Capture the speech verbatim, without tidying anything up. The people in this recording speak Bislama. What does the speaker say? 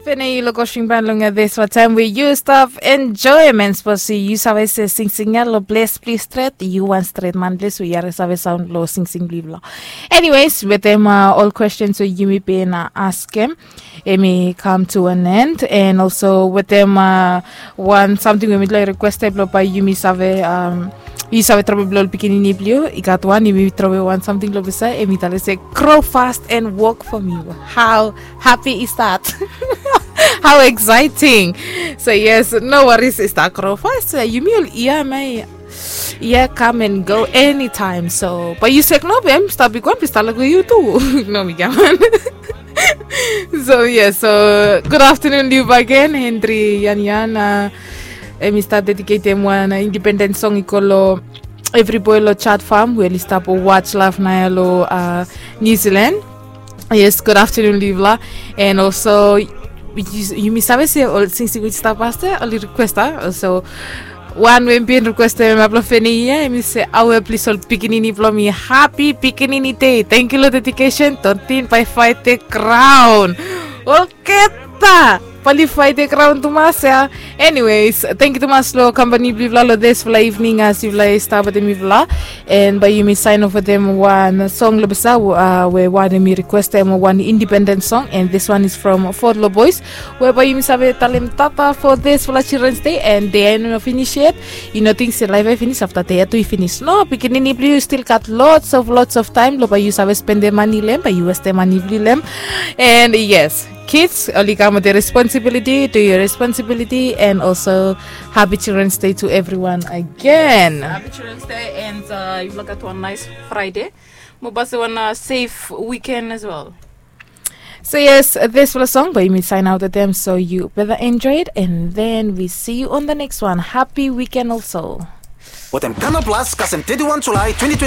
Pene yu lo kosing ban long ya, this what time we use stuff enjoyment, sipos yu save se singsing ya lo ples plis stret, yu wan stret man ples we yare save saun lo singsing blibla. Anyways, wetem uh, ol questions we yumi bin uh, askem, emi kam to an end, and also wetem uh, wan samting we mitla requested blo bai yumi save um, yu save travel blo ol pikinini blio, i gat wan emi travel wan samting lo bisa, emi tale se grow fast and work for me. How happy is that? How exciting. So yes, no worries, is that grow fast? Yumi ol ia mai ia come and go anytime. So but you sek no bem stop big one pista like you too. No mi gaman. So yes, so good afternoon liu again, Henry Yan Yan. Uh, emi start dedicatem wan uh, independent song i kolo Every Boy lo Chat Farm we oli stap watch live na ya lo uh, New Zealand. Yes, good afternoon, Livla. And also, yumi save se ol singsing we stap paste oli request a. So wan we bin request em ablo feni ia, emi se awe plis ol pikinini blo mi happy pikinini day. Thank you lo dedication, tontin bai fight the crown. Ol keta. Pali fight the crown tumas ya. Anyways, thank you tumas lo company blivla lo this fla evening as yufla stap wetem mifla. And bai yumi sign off wetem wan song lo bisa uh, we wan emi request em wan independent song, and this one is from Fort Lo Boys, we bai yumi save talem tata for this fla Children's Day, and day no finish yet. Yu no ting se laif bai finish afta day ya tu i finish. No, pikinini blue, you still got lots of lots of time lo bai yu save spendem mani lem, bai yu westem mani blue lem. And yes, kids, oli kam with the responsibility, do your responsibility, and also happy Children's Day to everyone again. Happy Children's Day, and uh, you look at one nice Friday. Mo basi wan uh, safe weekend as well. So yes, this fla song bai yumi sign out wetem, so you better enjoy it, and then we see you on the next one. Happy weekend also. Wetem Canal Plus kasem thirty-one July twenty twenty.